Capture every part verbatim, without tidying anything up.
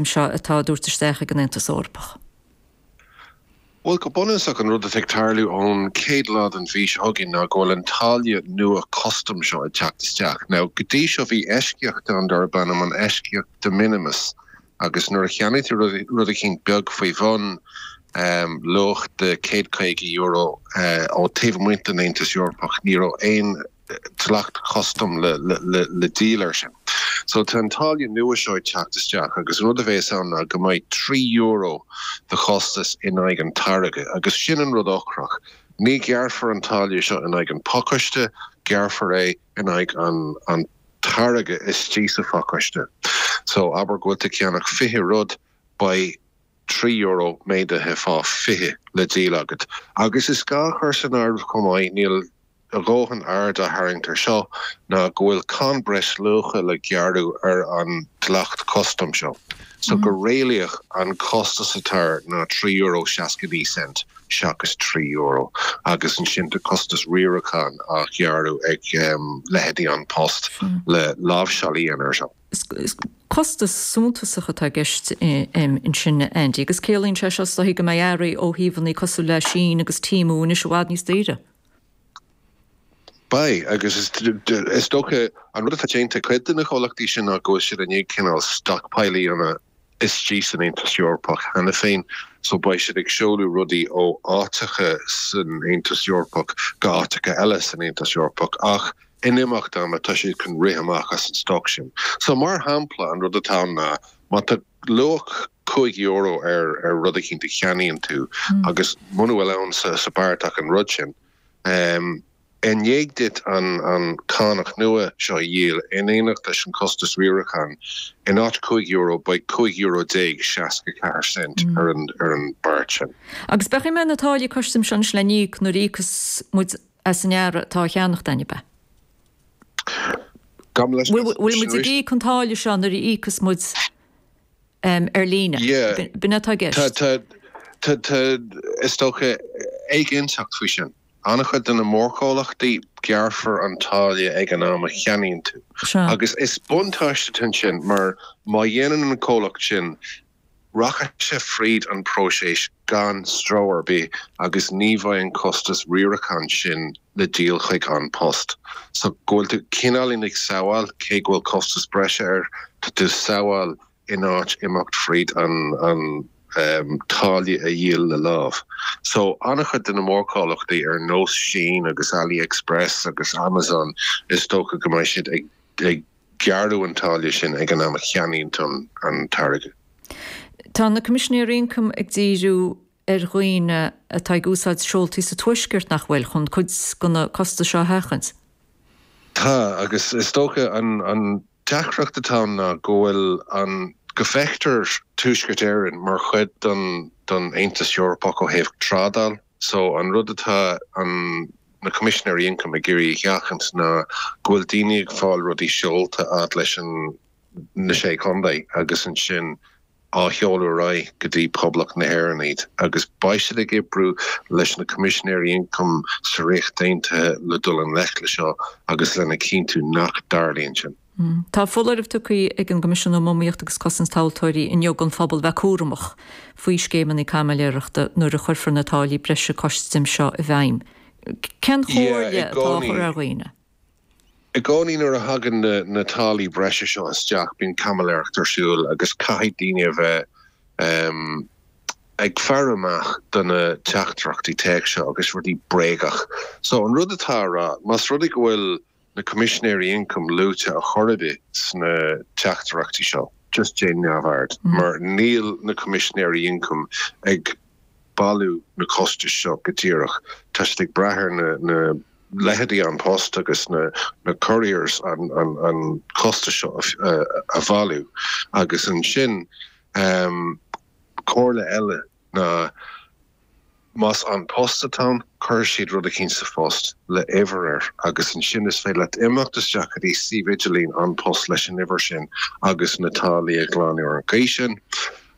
seo atá á dtabhairt isteach ag an Aontas Eorpach? Bhuel go bunúsach an rud atá ag tarlú ón chéad lá den mhí seo chugainn ná go bhfuil an táille nua custam seo ag teacht isteach. Now go dtí seo bhí eisceacht ann darb ainm an eisceacht de minimis agus nuair a cheannaigh tú rud eicínt beag faoi bhun um, luach de céad caoga euro uh, ó taobh amuigh den Aontas Eorpach ní raibh aon dleacht custam le, le, le, le díol air sin. So tá an táille nua seo ag teacht isteach agus rud a bheas ann ná go mbeidh trí euro de chostas in aghaidh an táirge agus sin an rud ocrach. Ní gearrfar an táille seo in aghaidh an pacáiste, gearrfar é in aghaidh an, an táirge istigh sa phacáiste. So abair go bhfuil tú ag ceannach fiche rud beidh trí euro méadaithe fá fiche le díol agat. Agus is gá a chur san áireamh chomh maith níl a dhóthain aird á tharraingt air seo ná go bhfuil cáin breisluacha le gearradh ar an dleacht custam seo. So go réalaíoch an costas atá air ná trí euro seasca naoi cent seachas trí euro agus ansin tá costas riaracháin á ghearradh ag um, leithéidí An Post le láimhseáil a dhéanamh air seo. Costas suntasach atá i gceist ansin Andy, agus ciallaíonn sé seo is dóichí go mbeidh earraí ó thíortha cosúil le Shein agus Temu anois i bhfad níos daoire. Beidh agus is dócha an rud atá déanta cuid de na comhlachtaí sin ná go bhfuil siad i ndiaidh cineál stockpile a dhéanamh istigh san Aontas Eorpach cheana féin, so beidh siad ag seoladh rudaí ó áiteacha san Aontas Eorpach go áiteacha eile san Aontas Eorpach ach in imeacht ama tá siad chun rith amach as an stoc sin. So mar shampla an rud atá ná má tá luach cúig euro ar ar rud eicínt a cheannaíonn tú mm. agus muna bhfuil ann sa, sa beart ach an rud sin. Um, I ndiaidh duit an an cánach nua seo a dhíol in éineacht leis an costas riaracháin in áit cúig euro beidh cúig euro déag seasca ceathair cent mm. ar an ar an beart sin. Agus beidh mé na táillí custaim sin le n-íoc nuair a íocas muid as an earra atá á cheannach againn be. Bhfuil muid ag íoc an táille seo nuair a íocas muid um, ar líne. B'in atá i gceist. Is dócha éiginnteacht faoi sin. An-chuid de na mórchomhlachtaí gearrfar an táille ag an am a cheannaíonn tú. Agus is buntáiste sin mar má dhéanann an comhlacht sin rachaidh sé fríd an próiseas gan stró ar bith agus ní bheidh an costas riaracháin sin le díol chuig An Post. So go bhfuil tú cineáilín ag sábháil cé go bhfuil costas breise air tá tú sábháil in áit imeacht fríd an, an um, táille a dhíol le lámh. So an-chuid de na mórchomhlachtaí ar nós Shein agus AliExpress agus Amazon is dócha go mbeidh siad ag, ag gearradh an táille sin ag an am a cheannaíonn tú an, an táirge. Tá na Coimisinéirí Ioncaim ag díriú ar dhaoine atá ag úsáid seoltaí sa tuaisceart nach bhfuil chun cuid de na costais seo a sheachaint. Tá agus is dócha an, an deacracht atá ná go bhfuil an go bhfeictear Tuaisceart Éireann mar chuid den den Aontas Eorpach ó thaobh trádáil, so an rud atá an na Coimisinéirí Ioncaim ag iarraidh a sheachaint ná go bhfuil daoine ag fáil rudaí seolta fhad leis an na sé chontae agus ansin á sheoladh ar aghaidh go dtí Poblacht na hÉireann iad agus beidh siad ag oibriú leis na Coimisinéirí Ioncaim sa Ríocht Aontaithe le dul i ngleic le seo agus lena chinntiú nach dtarlaíonn sin. Mm. Tá foláireamh tugtha ag an gCoimisiún um Iomaíocht agus Cosaint Tomhaltóirí inniu don phobal bheith cúramach faoi scéimeanna caimiléireachta nuair a chuirfear na táillí breise custaim seo i bhfeidhm. Cén chomhairle atá á chur ar dhaoine? I gcónaí nuair a thagann na, na táillí breise seo isteach bíonn caimiléireacht ar siúl agus caithfidh daoine a bheith um, ag faire amach do na teachtaireachtaí téacs seo agus rudaí bréagach. So an rud atá á rá, más rud é go bhfuil na Coimisinéirí Ioncaim luaite ar chor ar bith sna teachtaireachtaí seo, just déan neamhaird, mm. mar níl na Coimisinéirí Ioncaim ag bailiú na costais seo go díreach. Tá siad ag brath ar na, na leithéidí An Post agus na, na couriers an, an, an costas seo a, a bhailiú. Agus ansin um, comhairle eile ná más An Post atá ann, cuir siad rud eicínt sa phost le uimhir air agus ansin is féidir leat imeacht isteach go dtí suíomh idirlín An Post leis an uimhir sin agus na táillí a ghlanadh ar an gcaoi sin.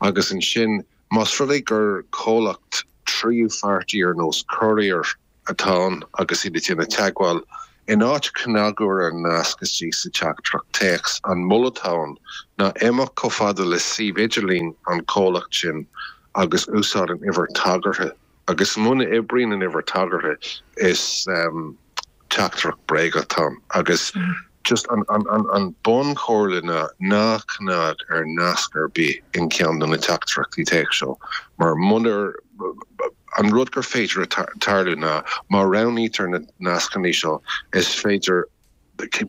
Agus ansin más rud é gur comhlacht tríú pháirtí ar nós courier atá ann agus iad ag déanamh teagmháil In áit cnagadh ar an nasc istigh sa teachtaireacht téacs, an moladh atá ann ná imeacht chomh fada le suíomh idirlín an chomhlacht sin agus úsáid an uimhir tagartha. Agus muna oibríonn an uimhir tagartha, is teachtaireacht bréagach atá ann. Agus just an an an an bunchomhairle ná ná cnag ar nasc ar bith in ceann de na teachtaireachtaí téacs seo, mar munar an rud gur féidir a tarlú ná má roghnaítear na nascanna seo is féidir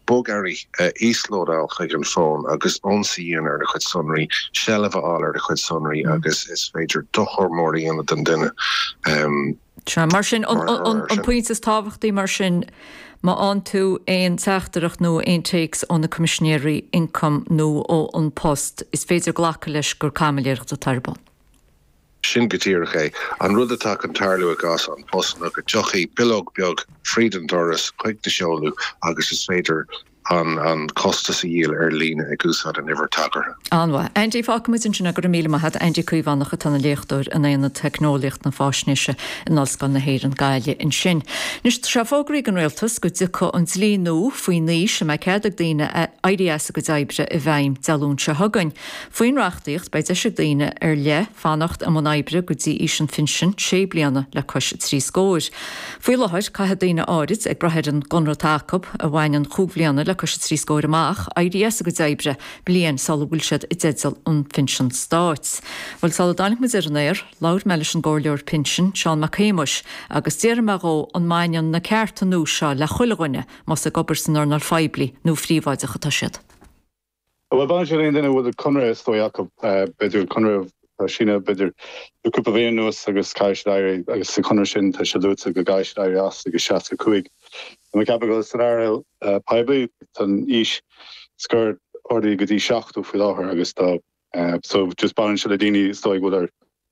bogearraí a íoslódáil chuig an bhfón agus ionsaí a dhéanamh ar do chuid sonraí, seilbh a fháil ar do chuid sonraí agus is féidir dochar mór a dhéanamh don duine. Sea, mar sin, an pointe is tábhachtaí mar sin, má fhaigheann tú aon teachtaireacht nó aon téacs ó na Coimisinéirí Ioncaim nó ó An Post, is féidir glacadh leis gur caimiléireacht atá ar bun. Sin go díreach é. An rud atá chun tarlú i gcás An Post ná go dtiocfaidh bileog beag fríd an doras chuig do sheoladh agus is féidir an an costas a dhíol ar líne ag úsáid an uimhir tagartha. An-mhaith. Andy, fágfaimid ansin é, go raibh míle maith agat. Andy Caomhánach atá ina léachtóir in Aonad Teicneolaíocht na Faisnéise in Ollscoil na hÉireann, Gaillimh ansin. Anois, tá sé fógraithe ag an Rialtas go dtiocfaidh an dlí nua faoin aois a mbeidh cead ag daoine éirí as a gcuid oibre i bhfeidhm Dé Luain seo chugainn. Faoin reachtaíocht, beidh deis ag daoine ar leith fanacht i mbun oibre go dtí aois an phinsin, sé bliana le cois trí scóir. Faoi láthair, caithfidh daoine áirid, ag brath ar an gconradh atá acu, a bhaineann chúig bhliana le cois trí scóir amach, éirí as a gcuid oibre bliain sula bhfuil siad i dteideal an phinsin stáit. Bhuel, sula dtáinig muid ar an aer, labhair mé leis an gcomhairleoir pinsin, Seán Mac Shéamuis, agus d'fhiafraigh mé dhó an mbaineann na cearta nua seo le chuile dhuine, más ag obair san earnáil phoiblí nó phríobháideach atá siad. Bhuel, baineann sé le aon duine a bhfuil conradh is dóigh acu, b'fhéidir conradh a síneadh b'fhéidir le cúpla bhliain anuas agus caithfidh siad éirí agus sa chonradh sin tá sé luaite go gcaithfidh siad éirí as ag seasca cúig. Tá mé ag ceapadh go bhfuil san earnáil poiblí tá an aois scoir ardaithe go dtí seachtó faoi láthair agus tá so just baineann sé le daoine is dóigh go bhfuil ar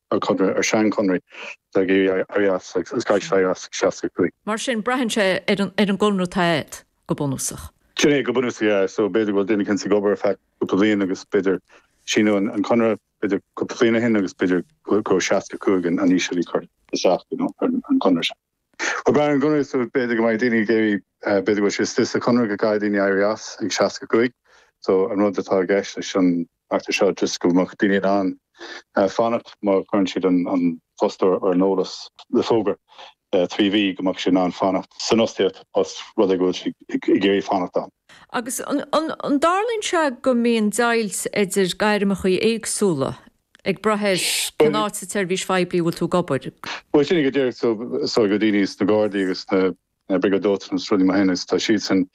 ar conradh ar seanchonraí atá ag iarraidh éirí as agus caithfidh siad éirí as ag seasca cúig. Mar sin braitheann sé ar an ar an gconradh atá agat go bunúsach. Sin é go bunúsach yeah so b'fhéidir go bhfuil duine éicint ag obair ar feadh cúpla bliain agus b'fhéidir síneadh an conradh b'fhéidir cúpla bliain ó shin agus b'fhéidir go raibh seasca cúig an aois a bhí curtha isteach you know ar an gconradh sin. Bhuel braitheann ar an gconradh so b'fhéidir go mbeidh daoine ag iarraidh b'fhéidir go bhfuil sé istigh sa chonradh go gcaithfidh daoine éirí as ag seasca cúig so an rud atá i gceist leis an reachtaíocht seo just go mbeadh daoine in ann fanacht má chuireann siad an fostóir ar an eolas le fógra trí mhí go mbeadh siad in ann fanacht san fhostaíocht os rud é go bhfuil siad ag iarraidh fanacht ann. Agus an dtarlaíonn sé go mbíonn deighilt idir gairmeacha éagsúla ag brath ar cén áit sa tseirbhís phoiblí a bhfuil tú ag obair? Bhuel sin é go díreach so so go daoine sna Gardaí agus sna Briogáid Dóiteáin agus rudaí mar sin agus tá siadsan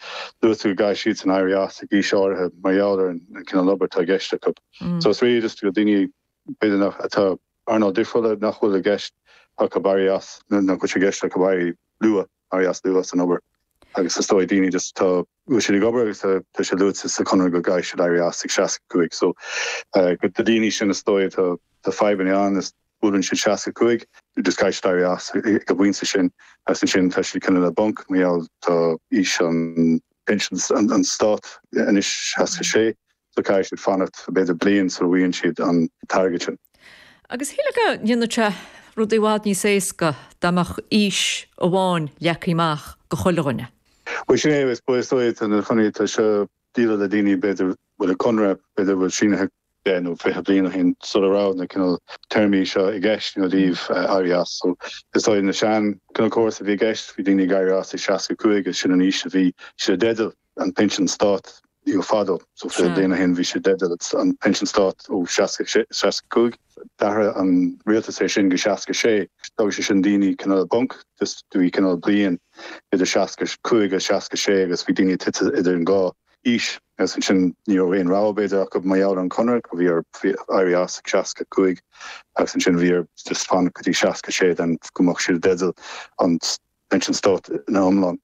luaite go gcaithfidh siadsan éirí as ag aois áirithe mar gheall ar an cineál obair atá i gceist acu. So is really just go daoine b'fhéidir nach atá earnáil difriúla nach bhfuil i gceist acu éirí as nach bhfuil sé i gceist acu éirí luath, éirí as luath san obair agus is dóigh daoine just atá bhfuil siad ag obair agus tá sé luaite sa chonradh go gcaithfidh siad éirí as ag seasca cúig so do daoine sin is dóigh tá tá fadhbanna ann is buaileann siad seasca cúig just caithfidh siad éirí as ag an bpointe sin agus ansin tá siad cineál le bponc mar gheall tá aois an pinsean an stát anois seasca sé so caithfidh siad fanacht b'fhéidir bliain sula bhfaigheann siad an t-airgead sin. Agus shílfeá go ndéanfadh sé rudaí i bhfad níos éasca dá mbeadh aois amháin leagtha amach do chuile dhuine. Bhuel sin é, is dóigh tá na conarthaí tá seo dírithe le daoine b'fhéidir a bhfuil a conradh b'fhéidir a bhfuil sínithe deich nó fiche bliain ó shin sula raibh na cineál téarmaí seo i gceist you know i dtaobh éirí as. So is dóigh na sean cineál córas a bhí i gceist bhí daoine ag éirí as ag seasca cúig agus sin an aois a bhí siad i dteideal an pinsean stáit you know fadó. So fiche bliain ó shin bhí siad i dteideal an pinsean stáit ó seasca seasca cúig. D'athraigh an rialtas é sin go seasca sé. D'fhág sé sin daoine cineál i bponc just bhí cineál bliain idir seasca cúig agus seasca sé agus bhí daoine tite idir an dhá aois agus ansin ní raibh aon rogha b'fhéidir acu mar gheall ar an conradh go bhí orthu éirí as ag seasca cúig agus ansin bhí orthu just fanacht go dtí seasca sé then go mbeadh siad i dteideal an pinsean stáit ina iomlán.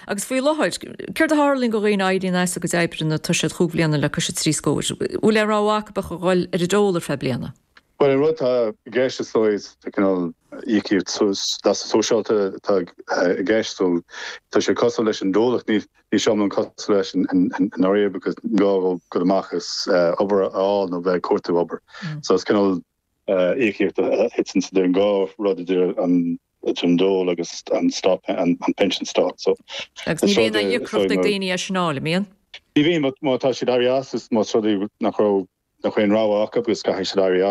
Agus faoi láthair, céard a tharlaíonn do dhaoine a éiríonn as a gcuid oibre nuair atá siad chúig bhliana le cois a trí scór? Bhfuil aon rogha acu ach a dhul ar an dól ar feadh bliana? Bhuel, an rud atá i gceist is dóigh, tá cineál íocaíocht leasa sóisialta atá i gceist so tá sé cosúil leis an dól ach níl sé iomlán cosúil leis i ndáiríre because ní gá dóibh dul amach agus obair a fháil nó bheith ag cuartú obair. So is cineál íocaíocht a thiteann idir an dhá rud idir an idir an dól agus an stop an, an pension stát so Agus ní bhíonn aon íocaíocht ag daoine as sin an mbíonn? Ní bhíonn má tá siad éirí as is más rud é nach raibh nach aon rogha acu agus caithfidh siad éirí as